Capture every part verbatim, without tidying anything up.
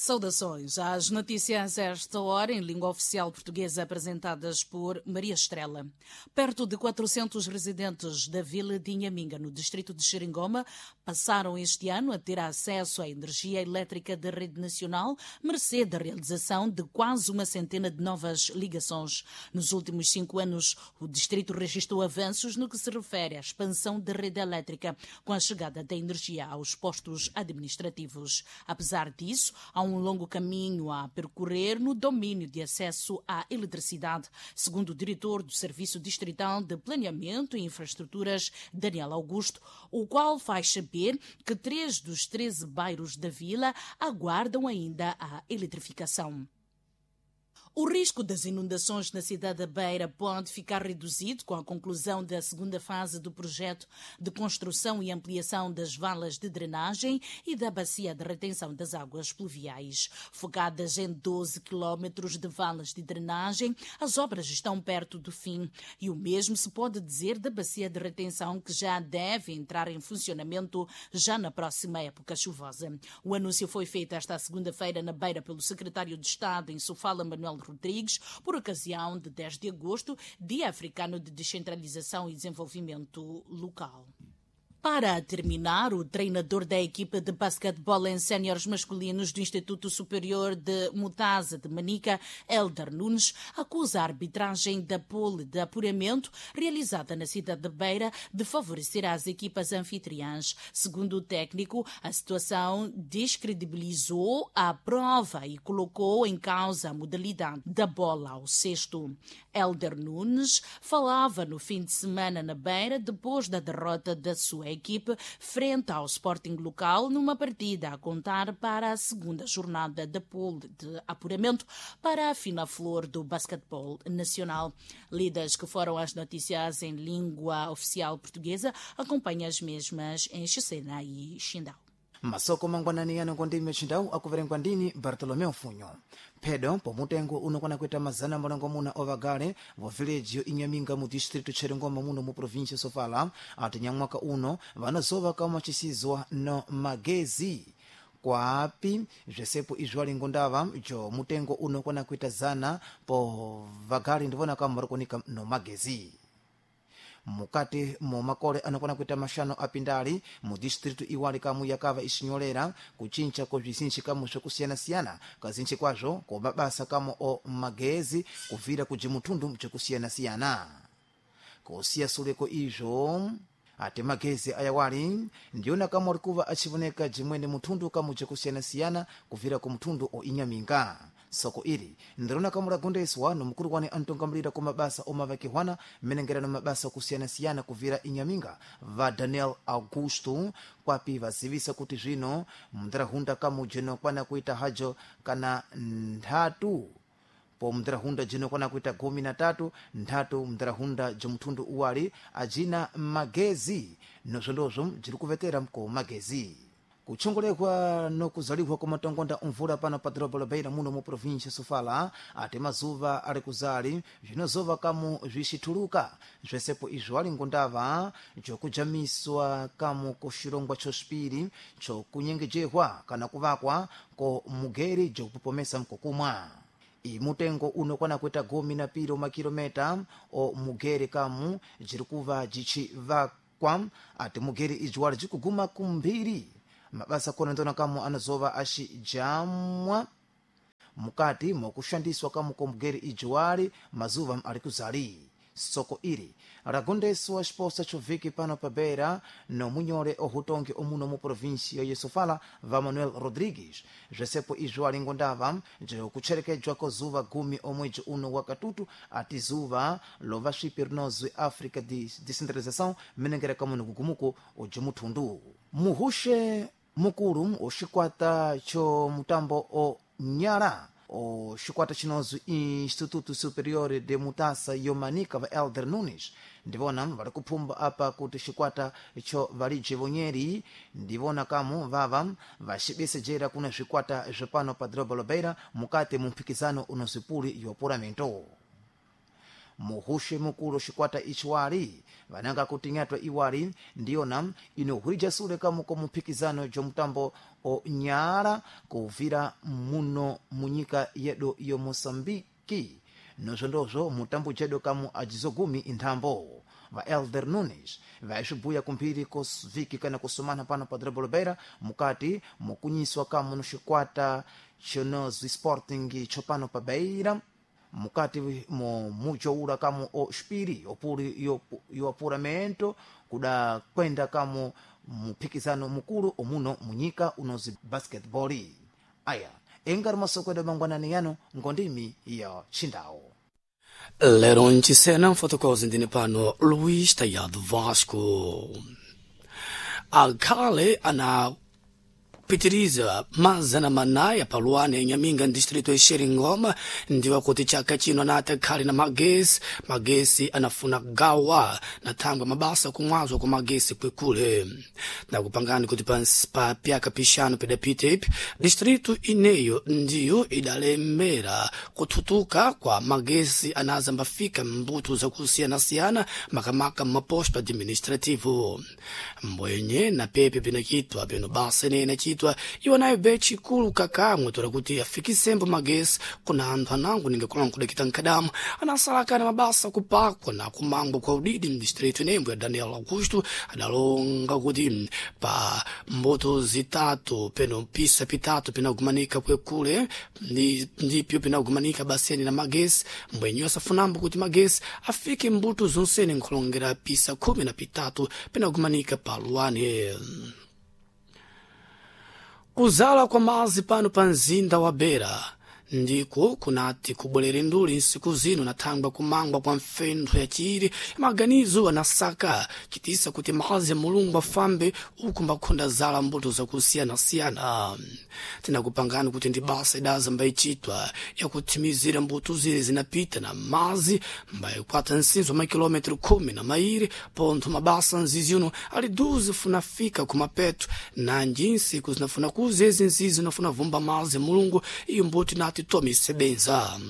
Saudações às notícias a esta hora em língua oficial portuguesa apresentadas por Maria Estrela. Perto de quatrocentos residentes da vila de Inhaminga, no distrito de Xeringoma, passaram este ano a ter acesso à energia elétrica da rede nacional, mercê da realização de quase uma centena de novas ligações. Nos últimos cinco anos, o distrito registrou avanços no que se refere à expansão da rede elétrica, com a chegada da energia aos postos administrativos. Apesar disso, há um longo caminho a percorrer no domínio de acesso à eletricidade, segundo o diretor do Serviço Distrital de Planeamento e Infraestruturas, Daniel Augusto, o qual faz saber que três dos treze bairros da vila aguardam ainda a eletrificação. O risco das inundações na cidade da Beira pode ficar reduzido com a conclusão da segunda fase do projeto de construção e ampliação das valas de drenagem e da bacia de retenção das águas pluviais. Focadas em doze quilómetros de valas de drenagem, as obras estão perto do fim. E o mesmo se pode dizer da bacia de retenção, que já deve entrar em funcionamento já na próxima época chuvosa. O anúncio foi feito esta segunda-feira na Beira pelo secretário de Estado em Sofala, Manuel Rodrigues, por ocasião de dez de agosto, Dia Africano de Descentralização e Desenvolvimento Local. Para terminar, o treinador da equipa de basquetebol em séniores masculinos do Instituto Superior de Mutasa de Manica, Helder Nunes, acusa a arbitragem da pole de apuramento realizada na cidade de Beira de favorecer as equipas anfitriãs. Segundo o técnico, a situação descredibilizou a prova e colocou em causa a modalidade da bola ao cesto. Helder Nunes falava no fim de semana na Beira depois da derrota da sua equipe frente ao Sporting local numa partida a contar para a segunda jornada da pool de apuramento para a final flor do basquetebol nacional. Lidas que foram as notícias em língua oficial portuguesa, acompanha as mesmas em Xicena e Xindau. Masoko mangwanani yano kondime chindau akuverengwa ndini Bartolomeu Funyo. Phedo pomutengo unokwana kuita mazana malongo ovagale vo village yo Inhaminga mu distrito Xeringoma muno mu província Sofala ati nyamwaka uno vanazova kama chisizwa no magezi kwapi zvesepo izvo alingondava jo mutengo unokwana kuita zana po vagale ndivona kama varikunika no magezi. Mukati mu makole anokwana kuita mashano apindali mu distritu iwali kamu yakava isinyolera kuchincha ko bzizinji kamu zvokusiyana-siyana kazinji kwazvo ko mabasa kamu o magezi kuvira kujimutundu bzikusiyana-siyana kusiya suleko izvo ati magezi ayawali ndiyona kamu alikuva achivoneka jimwene mutundu kamu bzikusiyana-siyana kuvira ku mutundu o Inhaminga. Soko ili ndirona kamu lagondeswa nomukulu wani antongamulira ku mabasa omavakihwana mmenengerano mabasa okusiyana-siyana kuvira Inhaminga va Daniel Augusto kwapi vazivisa kuti zvino mndirahunda kamu jino kwana kuita hajo kana nthatu po mndirahunda jino kwana kuita gumi na tatu nthatu mndirahunda jomthundu uwali ajina magezi nozvondozvo jiri kuvetera mko magezi. Kutchongolekwa nokuzaliwa kwa matongonda omvula pano pa doroba la Beira muno mu província Sofala ati mazuva ali kuzali zvinozova kamu zvixithuluka zvesepo izvo alingondava jokujamiswa kamu ko xirongwa xoxipiri cokunyengejehwa kana kuvakwa ko mugeri jokupopomesa mkokumwa. Imutengo unokwana kuita gumi na piri makilometa o mugeri kamu jirikuva jicivakwa ati mugeri ijwali jikuguma kumphiri mabasa kona ndona kamu anazova axijamwa mukati mokushandiswa kamu komugeri ijuwali mazuva ali kuzali. Soko ili lagondeswa xiposa choviki pano pa Beira nomunyole ohutongi omuno mu província ye Sofala va Manuel Rodrigues zvesepo izvo alingondava jokutcherekedzwa ko zuva gumi omwedzi uno wa katutu ati zuva lova swipi rinozwi Africa de Descentralização mmenengera kamu nikugumuko ojimuthundu. Muhushe mukulu oxikwata cho mutambo o nyala o xikwata chinozwi Instituto Superior de Mutasa yomanika va Elder Nunes ndivona vari kuphumba apa kuti xikwata cho validzi vonyeri ndivona kamu vava vaxibesejera kuna zvikwata zvepano pa doroba la Beira mukati mu mphikizano unozwipuli yopuramento. Muhushe mukulu xikwata ichiwali vananga kuti nyatwa iwali ndiyona inohwija sule kamu ko muphikizano jo mutambo onyala kuvira muno munyika yedu yo Moçambique nozvondozvo mutambo jedu kamu ajizogumi inthambo. Va Elder Nunes vaixubuya kumphiri kosviki kana kusumana pano pa Drabolobeira mukati mukunyiswa kamu no xikwata chonozwi Sporting chopano pa Beira mukati mo mujoula kamu o xipiri opuli yo, yo apuramento kuda kwenda kamu muphikizano mukulu omuno munyika unozi basketball. Aya engari masoko edu mangwanani yano ngondimi ya Chindawo. Lero nchisena mfotokozi ndine pano Luís Tayado Vasco. Akhale ana pitiriza mazana manaya paluane Nyaminga distrito ya Xeringoma ndiwa kuti chaka chino anati akhale na magesi. Magesi anafuna gawa na thangwe mabasa kumwazwa kwa magesi kwekule. Nakupangani kuti pa pyaka pixanu pidapita ipi distrito ineyo ndiyo idalemera kuthutuka kwa magesi anaza mbafika mbuto zakusiyanasiyana makamaka maposto administrativo mbwenye na pepe pinachitwa pino basa ine inachitwa iwo nayo bechi ikulu kakamwe tola kuti afikisembo magesi kuna anthu anango ningakulanga kudakita nkadamu anasalakana mabasa kupakwa na kumangwa kwa udidi mdistrito inembo ya Daniel Augusto adalonga kuti pa mbuto zitatu peno pisa pitatu pinagumanika kwekule ndipyo pinagumanika baseni na magesi mbwenye asafunambo kuti magesi afike mbuto zonsene nkhulongera pisa khumi na pitatu pinagumanika paluane. Kuzala kwa mazi pano pa mzinda wa Beira ndiko kunati kubwerere nduli nsiku zino nathangwa kumangwa kwa mfentho yachiri maganizo anasaka chitisa kuti mazi ya Mulungu afambe uku mbakhonda zala mbuto zakusiyanasiyana. Tinakupangani kuti ndi basa idaza mbayichitwa yakuthimizira mbuto zile zinapita na mazi mbayikwata nsinzo makilometro khumi na mairi pontho mabasa nzizi uno ali duze funafika kumapeto nanji nsiku zinafuna kuza ezi nzizi zinafuna vumba mazi ya Mulungu iyo mbuto inati tomisebenza.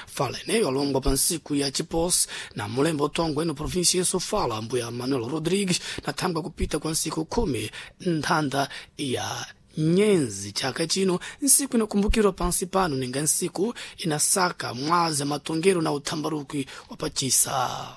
Fala ineyo alongwa pa nsiku ya chiposi na mulembo utongwe ino província ya Sofala mbuya Manuel Rodrigues nathangwa kupita kwa nsiku khumi nthanda ya nyenzi chaka chino nsiku inakumbukirwa pansi pano ninga nsiku inasaka mwazi matongero na uthambaruki wa pachisa.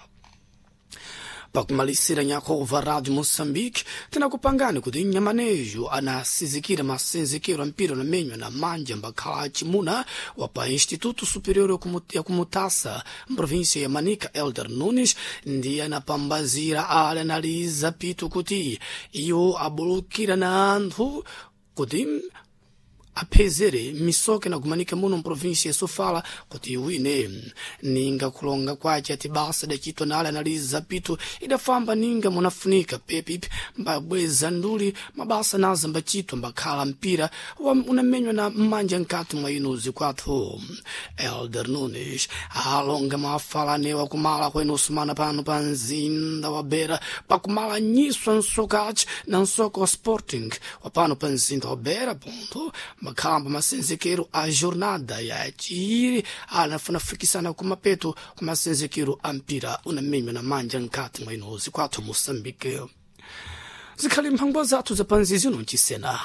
Pakumalisira nyakova Radio Moçambique tinakupangani kuti nyamanejo anasizikira masenzekero ampira namenywa na manja mbakhala achimuna wa pa Instituto Superior ya Kumutasa mprovíncia ya Manica Elder Nunes ndiye anapambazira ali analiza pito kuti iwo abulukira na anthu kuti aphezere misoke nakumanika muno mprovíncia ya Sofala kuti iwine. Ninga kulonga kwace ati basa idacitwa nale analiza pito idafamba ninga munafunika pepipi mbabweza nduli mabasa naza mbacitwa mbakhala mpira unamenywa na mmanja nkati mwa inuzi kwathu. Elder Nunes alonga mafalanewa kumala kwa inusumana pano pa mzinda wa Beira pakumala nyiswa nsokaci na nsoko wa Sporting wa pano pa mzinda wa Beira ponto makhamba masenzekero a jornada ya chiri anafunafikisana kumapeto kwa masenzekero a mpira unamenywa na manja nkati mwa inozi kwathu Moçambique. Zikhali mphangwa zathu zapanzi zino nchisena.